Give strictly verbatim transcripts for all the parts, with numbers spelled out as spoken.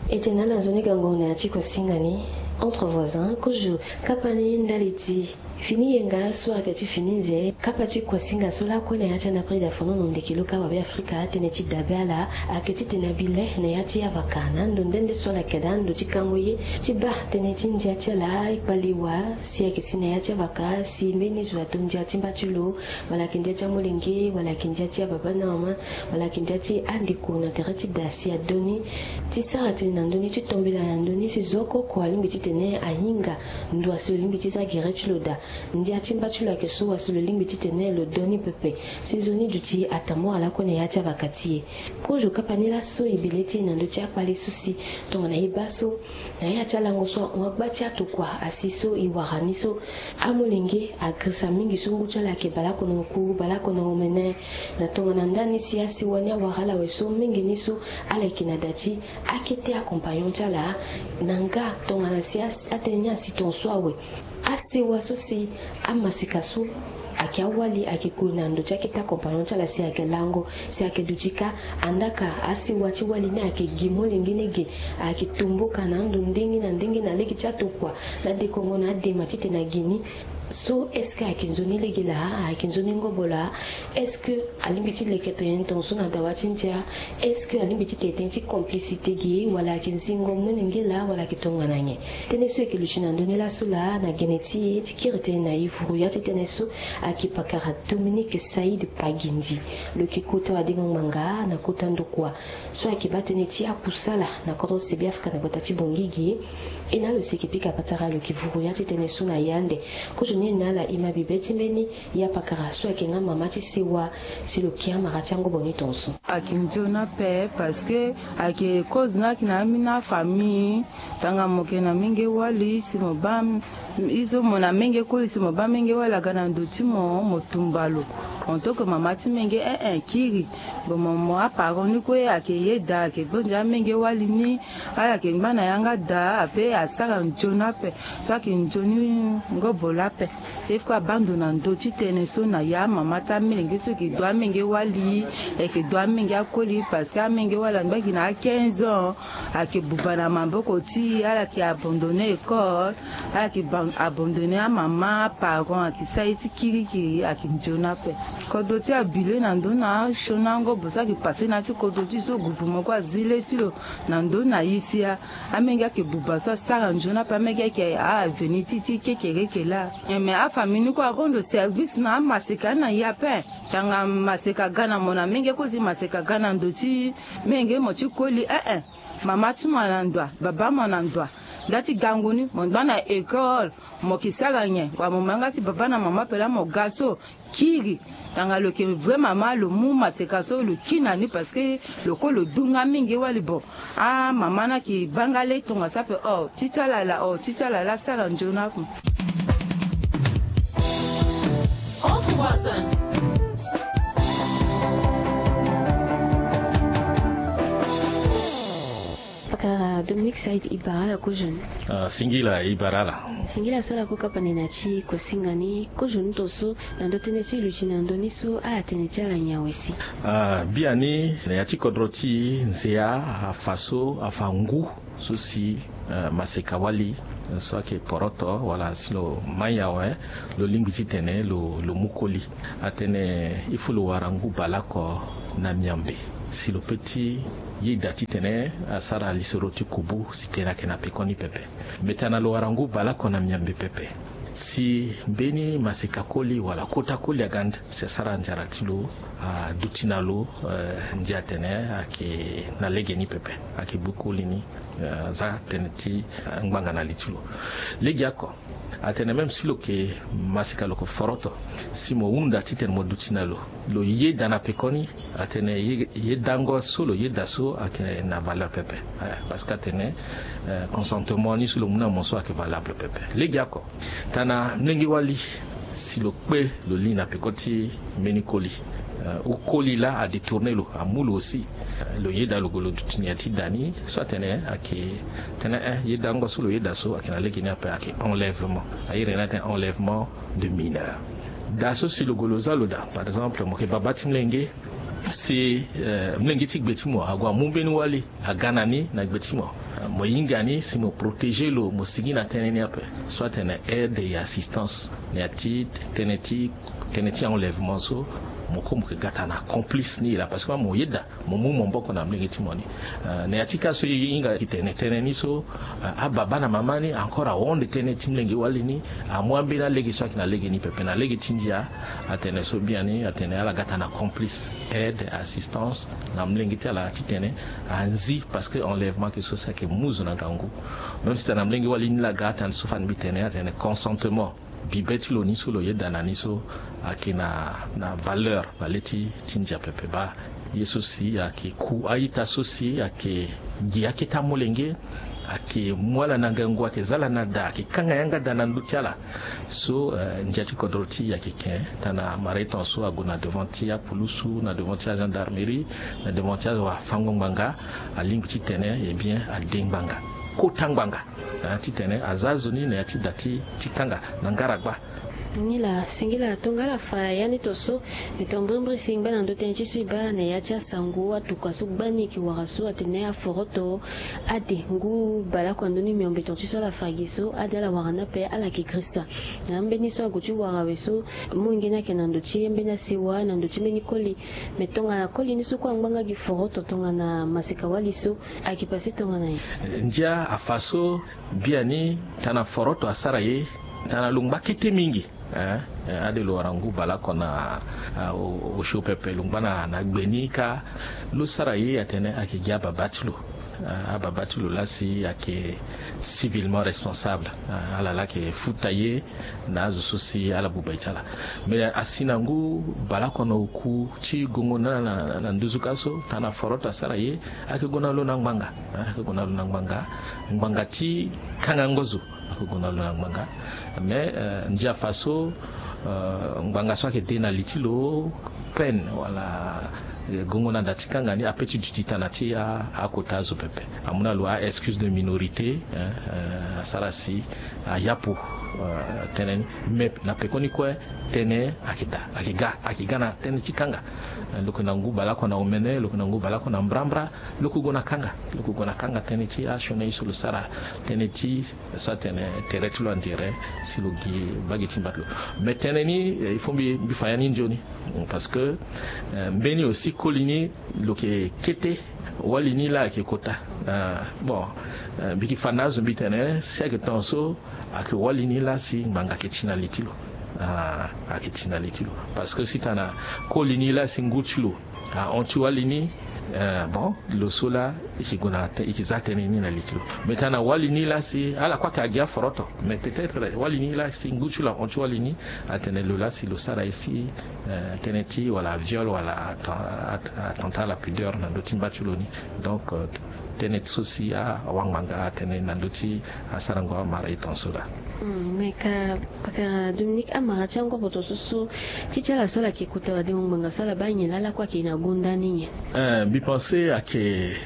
E tene na ala nzoni gango na ya ti kuasinga ni. Entre voisins, kozo kapa ni ndali ti fini yenga so ayeke ti fini nze. Kapa ti kuasinga so lakue na ya ti andapre da fono na ndeke lo ka wabe afrika atene ti dabe ala ayeke titene abi le na ya ti avaka na ando nde nde so ala yeke daa ando ti kango ye ti baa tënë ti ndia ti ala. Ekpali wa si ayeke si na ya ti avaka si mbeni zo ato ndia ti mba ti lo, wala ayeke ndia ti amolenge, wala ayeke ndia ti ababa na mama, wala ayeke ndia ti andeko na tere ti da si ado ni ti sara tënë na ndö ni ti tombela na ndö ni si zo oko oko alingbi titene ahinga ndo asi lo lingbi ti za gere ti lo daa. Ndia ti mba ti lo ayeke so wa si lo lingbi titene lo do ni pepe si nzoni duti atambara lakue na ya ti avaka ti e. Kozo kapa ni laso e bele ti e na ndö ti akpale so si tongana e baa so na ya ti alango so ahon agba ti atokua asi so e wara ni so amolenge agresa mingi so ngu ti ala ayeke baleoko na oku baleoko na omene. Na tongana ndani si asewa ni awara ala awe so mingi ni so ala yeke na da ti akete akompagnon ti ala. Na nga tongana si atene ni asi tongaso awe asewa so si amaseka so ayeke awali ayeke koli na ndo ti akete akompagnon ti ala si ayeke lango si ayeke duti kâ. Andaka asewa ti wali ni ayeke gi molenge ni ge ayeke tomboka na ando ndenge na ndenge na lege ti atokua na adekongo na adema titene agi ni. So est-ce que ayeke nzoni lege laa? Ayeke nzoni ngobo laa? Est-ce que alingbi ti leke tënë tongaso na dawa ti ndia? Est-ce que alingbi ti tene tënë ti complicité ge wala ayeke zingo molenge laa wala ayeke tongana nyen? Tënë so e yeke luti na ndö ni laso laa na gene ti e ti kiri tënë na e vuru ya ti tënë so ayeke pakara Dominique Saïd Pagindi. Lo yeke kota wadengo ngbanga na kota ndokua so ayeke baa tënë ti akusala na kodro ti Sebe Afrika na gbata ti Bangui ge. E na lo si e yeke pika patara lo yeke vuru ya ti tënë so na ya ande. Kozo ni e na ala e ma bibe ti mbeni ya pakara so ayeke nga mama ti sewa si lo ke amara ti angobo ni tongaso. Ayeke nzoni ape parce que ayeke cause ni ayeke na ambeni afamille. Tanga mo yeke na menge wali si mo baa i so mo na menge koli si mo baa menge wali aga na ndo ti mo mo tumba lo. En tant que mama ti menge eh eh kiri. Bon mo mo aparent ni kue ayeke yeda ayeke gbonza amenge wali ni. Ala yeke ngba na yanga daa ape asara nzoni ape. So ayeke nzoni ngobo lape. Te fo abaa ndo na ndö ti tënë so na ya amama ti amenge so eke do amenge wali eke do amenge akoli parce que amenge wali angba gi na a quinze ans. Ayeke buba na maboko ti e ala yeke abandonné école. Ala yeke abandonné amama aparent ayeke sara ye ti kirikiri ayeke nzoni ape. Kodro ti abile na ndö na asioni angobo so ayeke pase na ya ti kodro ti e so gouvernement kue azi le ti lo. Na ndö na isia amenge ayeke buba so asara nzoni ape amenge ayeke a veni ti ti kekereke laa. Me afamille ni kue arendre service na amaseka ni na ya ape. Tanga maseka aga na mo na menge kozi maseka aga na ndo ti menge mo ti koli eh eh. Mama ti mo na ndua baba mo na ndua. Nda ti gango ni mo ngba na école. Mo yeke sara nyen wala mo ma yanga ti baba na mama ape laa mo ga so. Kiri tanga lo yeke vrai mama lo mu maseka so lo ki na ni parce que lo kue lo du nga mingi wali bon. Ah mama ni ayeke baa nga le tongaso ape oh ti ti ala laa oh ti ti ala laa asara nzoni ape. Entre voisins. Pakara Dominique Saïd e bara ala kozo ni. Ah, singila e bara ala. Singila so ala kue kapa ni na ti kosinga ni kozo ni tongaso na ndö tënë so e luti na ndö ni so ala tene ti ala nyen awe si. Ah, biani na ya ti kodro ti e nzea afa so afa ngu so si eh, maseka wali so ayeke poroto wala si lo mai awe lo lingbi titene lo lo mu koli. Atene il faut lo wara ngu baleoko na miambe si lo peut ti yeda titene asara lisoro ti kubu si tënë ayeke na pekoni pepe. Me tana lo wara ngu baleoko na miambe pepe si mbeni maseka koli wala kota koli aga nde si asara nzara ti lo aduti na lo. Eh, ndia atene ayeke na legeni pepe ayeke gbu koli ni. Eh, aza tënë ti eh, ngbanga na li ti lo. Legeoko atene même si lo yeke maseka lo yeke foroto si mo hunda titene mo duti na lo lo yeda na pekoni. Atene yedango so lo yeda so ayeke na valeur pepe. Eh, parce que atene eh, consentement ni so lo mu na mo so ayeke valable pepe. Legeoko tana mlenge wali si lo kpe lo li na peko ti mbeni koli. Eh, ou koli laa adétourné lo amu lo aussi. Eh, lo yeda lo gue lo duti na ya ti da ni so atene ayeke tene eh, yedango so lo yeda so ayeke na legeni ape ayeke enlèvement. Airi ni atene enlèvement de mineur. Da so si lo gue lo za lo da par exemple mo yeke baba ti mlenge. Si mlenge ti gbe ti mo ague amu mbeni wali aga na ni na gbe ti mo, mo hinga ni si mo protéger lo, mo sigi na tënë ni ape. So atene aide et assistance na ya ti tënë ti tënë ti enlèvement so, mo ko mo ke gata na complice ni laa, parce que mo yeda mo mu maboko na mlenge ti mo ni. Na ya ti ka so e hinga e tene tënë ni so, ababa na mama ni encore ahonde tënë ti mlenge wali ni, amu ambeni alege so ayeke na lege ni pepe na lege ti ndia. Atene so biani atene ala gata na complice, aide, assistance na mlenge ti ala titene anzi, parce que enlèvement ayeke so si ayeke mu zo na ngangu. Même si tena mlenge wali ni laa aga atene so fani mbi tene atene consentement bibe ti lo ni so lo yeda na ni so ayeke na valeur na le ti ti ndia pepe baa. Ye so si ayeke ku a-ita so si ayeke gi akete amolenge, ayeke mu ala na ngangu, ayeke za ala na da, ayeke kanga yanga da na ndö ti ala. So ndia ti kodro ti e ayeke ke tana mara-ita so ague na devant ti apulusu, na devant ti agendarmerie, na devant ti awafango-ngbanga, alingbi titene eh bien ade ngbanga, kota ngbanga, titene aza azo ni na ya ti da ti ti kanga na ngaragba. Ni laa singila tongana ala fa ya ni to so. Me to mbrimbri si ngba na ndö tënë ti so e baa na ya ti asango atuka so gbani e yeke wara so atene aforoto ade ngu baleoko na ndö ni miombe tonga ti so ala fa gi so ade ala wara ni ape ala yeke girisa. Na ambeni so ague ti wara awe so, molenge ni ayeke na ndo ti ambeni asewa na ndo ti mbeni koli. Me tongana koli ni so kue angba nga gi foroto tongana maseka-wali so, ayeke pase tongana nyen? Ndia afa so biani tana foroto asara ye tana lo ngba kete mingi. Ade lo wara ngu baleoko na osio pepe lo ngba na gbe ni kâ. Lo sara ye atene ayeke gi ababa ti lo, ababa ti lo laa si ayeke civilement responsable. Ala laa ayeke futa ye na azo so si ala buba ye ti ala. Me asi na ngu baleoko na oku ti gongo na ala na nduzu kâ so tana foroto asara ye, ayeke gue na lo na ngbanga. Ayeke gue na lo na ngbanga, ngbanga ti kangango zo. Ayeke gue na lo na ngbanga. Mais ndia afa so ngbanga so ayeke de na li ti lo, peine wala gongo na da ti kanga ni ape ti duti tana ti akota azo pepe. Amu na lo a-excuse de minorité, asara si ayapu tënë ni. Mais na pekoni kue tënë ayeke daa, ayeke ga, ayeke ga na tënë ti kanga. Lo yeke na ngu baleoko na omene, lo yeke na ngu baleoko na mbrambra, lo yeke gue na kanga. Lo yeke gue na kanga tënë ti asioni aye so lo sara tënë ti so atene tere ti lo andiere si lo gi mbage ti mba ti lo. Mais tënë ni il faut mbi fa ya ni nzoni. Parce que mbeni aussi koli ni lo yeke kete, wali ni laa ayeke kota. Bon, mbi yeke fa na azo mbi tene si ayeke tongaso ayeke wali ni laa si ngbanga ayeke ti na li ti lo. Ayeke ti na li ti lo. Parce que si tana koli ni laa si ngu ti lo ahon ti wali ni, bon, lo so laa e yeke gue na e yeke za tënë ni na li ti lo. Mais tana wali ni laa si ala kue ayeke agi aforoto, mais peut-être wali ni laa si ngu ti lo ahon ti wali ni, atene lo laa si lo sara ye si tënë ti wala viol wala attentat à la pudeur na ndö ti mba ti lo ni. Donc tënë ti so si awangbanga atene na ndö ti asarango amara e tongaso laa. Me ka paka Dominique, amara ti angobo tongaso so ti ti ala so ala yeke kota wadengo ngbanga so ala baa nyen laa ala kue ayeke na gonda ni nyen? Mbi pense ayeke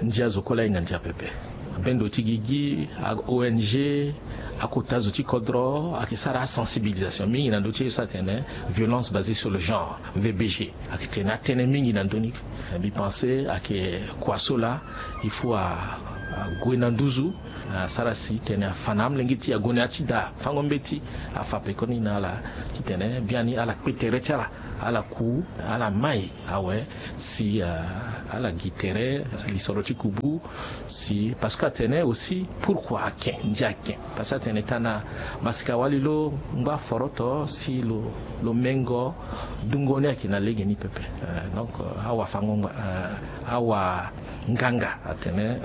ndia zo kue laa ahinga ndia pepe. Bendo ti gigi, a-ONG, akota zo ti kodro ayeke sara asensibilisation mingi na ndö ti ye so atene violence basée sur le genre, VBG. Ayeke tene atënë mingi na ndö ni. Mbi pense ayeke kua so laa il faut ague na nduzu, asara si tene afa na amolenge ti e, ague na ya ti da fango mbeti, afa pekoni na ala titene biani ala kpe tere ti ala, ala ku, ala mai awe si ala gi tere lisoro ti kubu. Si parce que atene aussi pourquoi aken ndia aken? Parce que atene tana masika wali lo ngba foroto si lo mengo dungo ni ayeke na lege ni pepe. Donc awafango, awanganga atene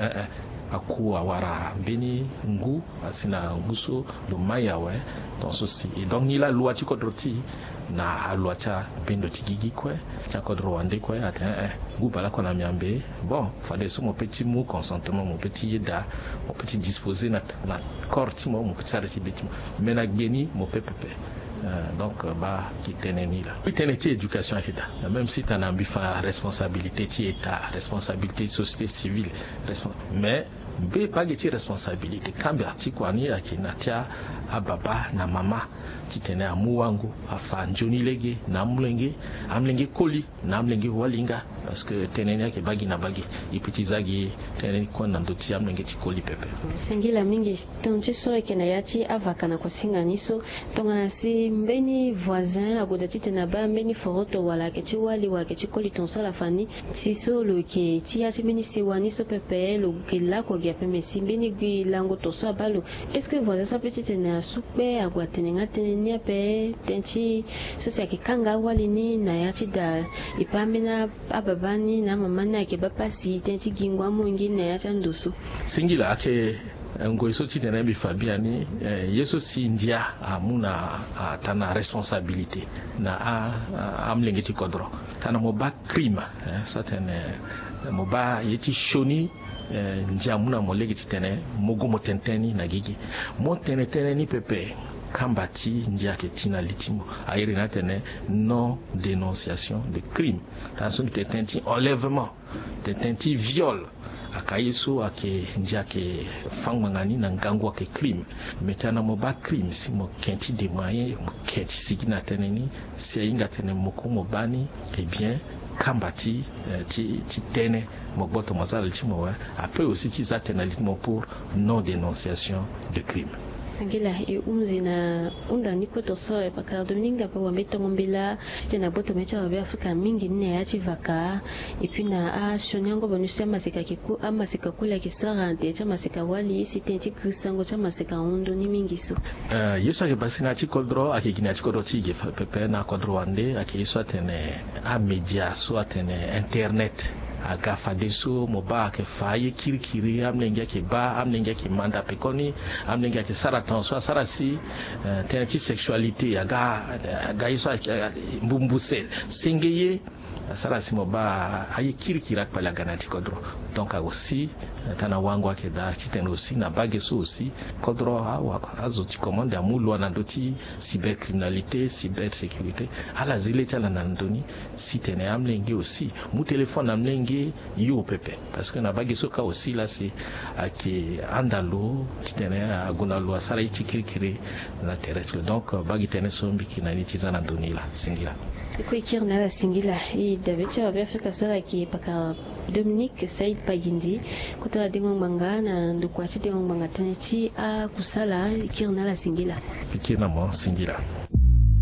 aku awara mbeni ngu asi na ngu so lo mai awe. Donc so si e donc ni laa loi ti kodro ti e na aloi ti abendo ti gigi kue, ti akodro wande kue atene eh, ngu baleoko na miambe. Bon, fadeso mo pe ti mu consentement, mo pe ti yeda, mo pe ti disposer na corps ti mo, mo pe ti sara ti be ti mo. Mais na gbe ni mo pe pepe. Donc baa gi tënë ni laa. Mbi tënë ti éducation ayeke daa, même si tana mbi fa responsabilité ti état, responsabilité ti société civile, mais mbi baa gi ti responsabilité kambia ti kua ni ayeke na ti ababa na mama, titene amu wango afa nzoni lege na amolenge, amolenge koli na amolenge walinga. Parce que tënë ni ayeke baa gi na baa gi. E pe ti za gi tënë ni kue na ndö ti amolenge ti koli pepe. Singila mingi. Ton ti so ayeke na ya ti avaka na kosinga ni so. Tongana si mbeni voisin ague daa titene abaa mbeni foroto wala ayeke ti wali wala ayeke ti koli ton so ala fa ni, si so lo yeke ti ya ti mbeni sewa ni so pepe lo yeke lakue gi ape, mais si mbeni gi lango ton so abaa lo, est-ce que voisin so ape titene asu kpe ague atene nga tënë ni ape? Tënë ti so si ayeke kanga awali ni na ya ti daa e pe ambeni ababa ni na amama ni ayeke baa pasi tënë ti gingo amongi na ya ti ando so. Singila ayeke ngoi so titene mbi fa biani, ye so si ndia amu na atana responsabilité na amolenge ti kodro, tana mo baa crime, so atene mo baa ye ti sioni. Ndia amu na mo lege titene mo gue mo tene tënë ni na gigi. Mo tene tënë ni pepe, kamba ti ndia ayeke ti na li ti mo. Airi ni atene non dénonciation de crime. Tana so mbi tene tënë ti enlèvement, tene tënë ti viol. Aka ye so ayeke ndia ayeke fa ngbanga ni na ngangu ayeke crime. Mais tana mo baa crime si mo ken ti demoyen, mo ken ti sigi na tënë ni, si ahinga tene mo ku mo baa ni, eh bien, kamba ti ti ti tënë mo gboto mo za na li ti mo awe. Ape aussi ti za tënë na li ti mo pour non dénonciation de crime. Singila e hunzi na hunda ni koto so e pakara Dominique Ngapa wambe tongo mbela titene agboto mê ti awabe Afrika mingi ni na ya ti vaka. Et puis na asioni angobo ni so amaseka ke ku amaseka kula ke sara ante ti amaseka wali si tënë ti grisango ti amaseka hondo ni mingi so. Ye so ayeke base na ya ti kodro ayeke gi na ya ti kodro ti e ge pepe na kodro wande ayeke ye so atene amédia so atene internet aga fadeso mo baa ayeke fa aye kirikiri amolenge ayeke baa amolenge ayeke manda pekoni amolenge ayeke sara tongaso asara si tënë ti sexualité aga aga ye so ayeke mbumbuse senge ye asara si mo baa aye kirikiri akpale aga na ya ti kodro. Donc aussi tana wango ayeke daa titene aussi na bage so aussi kodro azo ti commande amu loi na ndö ti cybercriminalité cybersécurité. Ala zi le ti ala na ndö ni si tene amolenge aussi mu téléphone na molenge yo pepe. Parce que na bage so ka aussi la si ayeke handa lo titene ague na lo asara ye ti kirikiri na terrestre. Donc baa gi tënë so mbi yeke na ni ti za na ndö ni la singila. Kue e kiri na ala singila. E dabe ti awabe Afrika so ala yeke pakara Dominique Saïd Pagindi kota dengo ngbanga na ndokua ti dengo ngbanga tënë ti akusala. E kiri na ala singila. E kiri na mo singila.